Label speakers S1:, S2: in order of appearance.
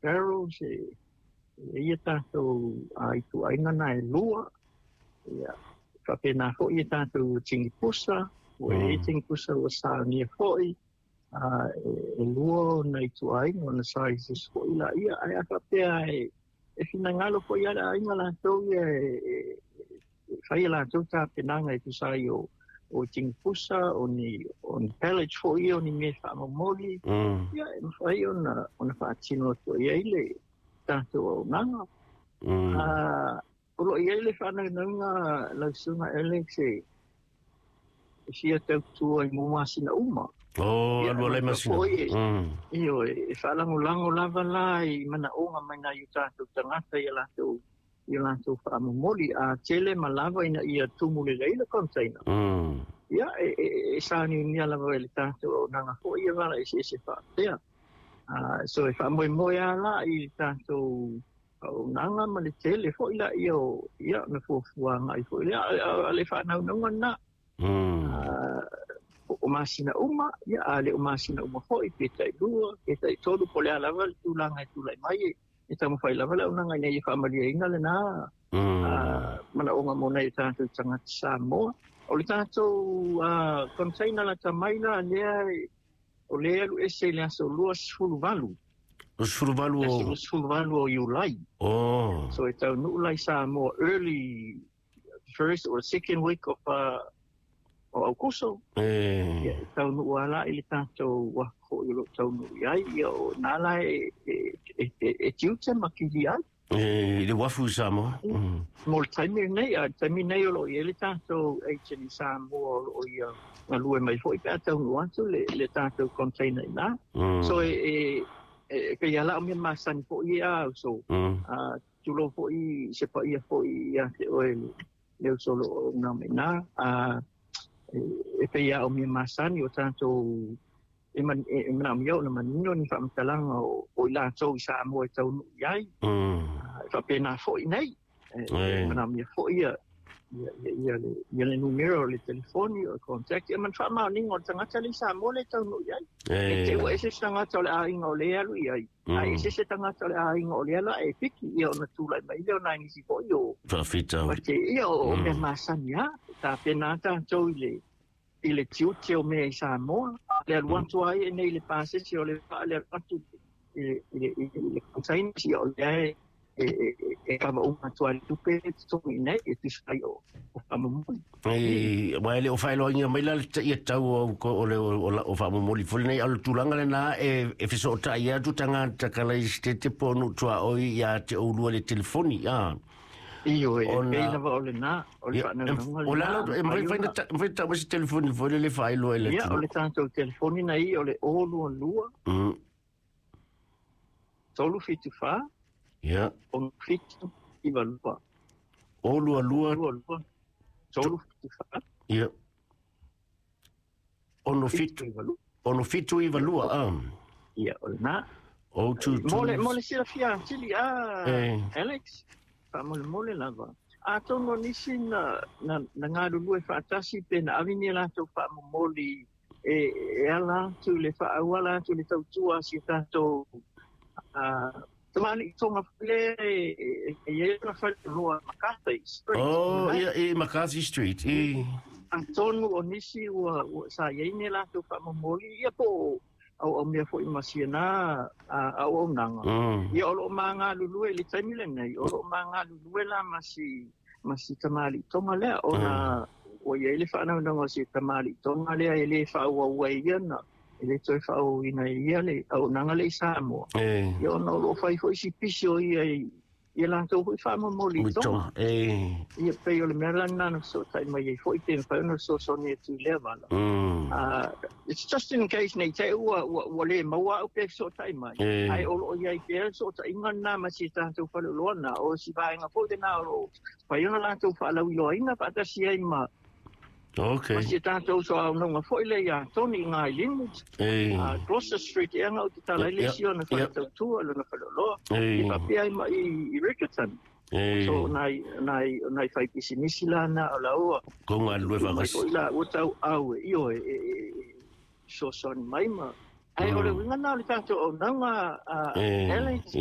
S1: barrels e ia tātou ituaiga na e lua. Ia, faapena foi ia tātou tini pusa, ua i ai tini pusa ua saunia foi, e lua ona ituaiga ona sizes foi laia, ae a faapea e finagalo foi lava le aiga latou ia e fai a latou tapenaga e tusa ai o tini pusa, o ni pallet foi ia, o ni mea faamomoli, ia e mafai ona faatino atu i ai le tātou auaunaga. O lo o i ai le faanaunauga lau Susuga Alex e fia tautua i mo masina uma.
S2: Oh, alu alai masina.
S1: Ioe, e faalagolago lava la i manaoga mai nai o tātou tagata i a latou faamomoli, a tele ma lava ina ia tumu lelei le container. Ia, e sauniunia lava e le tātou auaunaga foi ia vala eseese faapea. So e faamoemoe lava la i le tātou auaunaga ma le tele foi laia o ia na fuafuaga ai foi lea, a le faanaunauga lena. O masina uma, ia a le o masina uma foi, pe tailua, pe taitolu, po o le a lava le tulaga e tulai mai, e taumafai lava le auaunaga ina ia faamalieina lena manaoga mo nai o tātou tagata Samoa. O le tātou container lata mai la lea, o lea alu ese i le aso 28.
S2: 28 o?
S1: 28 o Iulai.
S2: Oh.
S1: So e taunuu la i Samoa early first or second week of o Aukuso. Ia, e taunuu lava la i le tātou uafu foi o lo o taunuu i ai, ia o nā la e tiute ma kili ai.
S2: I le uafu i Samoa.
S1: Mo le taimi lenei, a le taimi lenei o lo o i ai le tātou agent i Samoa o lo o ia galue mai foi pe a taunuu atu le tātou container i ina. So e pei lava la o mea masani foi ia au, so tulou foi se paia foi ia te oe le uso o lo o auauna mai i ina. E pei lava o mea masani o tātou e manaomia ona manino ni faamatalaga o i latou i Samoa e taunuu i ai. E faapena foi nei. E manaomia foi ia le numera o le telefoni o le contact, ia ma le faamaoniga o le tagata le i Samoa le taunuu i ai. E te ua ese se tagata o le aiga o le alu i ai, ae ese se tagata o le aiga o le ala e piki, ia ona tulai mai lea o nai nisi foi o
S2: faafitauli.
S1: Ia o mea masani lava, tapena tātou i le tiute o mea i Samoa, le alu atu ai e nei le pasese o le vaa, le alu atu i le container, ia o lea e kava uma atu ai le tupe e totogi nei, e tusa ai o faamomoli.
S2: Ua e le o faailoaina mai la le ia tau o le o faamomoli foi lenei, a o le tulaga lena e fesootai atu tagata Kalaisitete po o nuu tuaoi ia te oulua i le telefoni.
S1: Ioe, e pei lava o lena, o le faanaunauga lena.
S2: O le ala, e mafai tau mai se telefoni foi le faailoa i le
S1: Ia, o le tātou telefoni na ia o le 022 374
S2: Ia.
S1: 67 92.
S2: 022
S1: 374
S2: Ia. 67 92.
S1: Ia, o lena.
S2: O tu
S1: Mo le silafia atili Alex, faamolemole lava. Atonu o nisi na galulue faatasi pe na ave ni a latou faamomoli e ala atu le faaauala atu le tautua a si tātou tamalii tonga foi lea e i ai ona faleoloa McCarthy Street.
S2: Oh, ia, i McCarthy Street.
S1: Atonu o nisi ua sa i ai ni a latou faamomoli, ia po o mea foi ma siana auaunaga. Ia o lo o magalulue i le taimi lenei, o lo o magalulue la ma si tamalii tonga lea, ona ua i ai le faanaunauga o si tamalii tonga lea e le faaauau ai ia na, e le toe faaauauina ai ia le auaunaga le i Samoa. Ia ona o lo o fai foi si pisi o ia i ia latou foi faamomoli i tonga. Ia pei o le mea la lena na fesootai mai ai foi pe mafai ona fesoasoani atu i lea vala. It's just in case nei te ua le maua au pe fesootai mai. Ae o lo o i ai pea le fesootaiga lena ma si tātou faleoloa na, o si vaega foi lena o lo o fai ona latou faalauiloaina faatasi ai ma
S2: Okay.
S1: Ma si tātou soaunaga foi le ia Tony i ngā Linwood. Gloucester Street e anga o te tala i le si ona whaletautua, lona faleoloa. I faapea ai ma i Riccarton. So nai whai pisimisi la na o la ua.
S2: Ko ngā lue whakasi.
S1: Mai la ua tau au e io e fesoasoani mai ma. Ai o le uiga na o le tātou auaunaga Alex.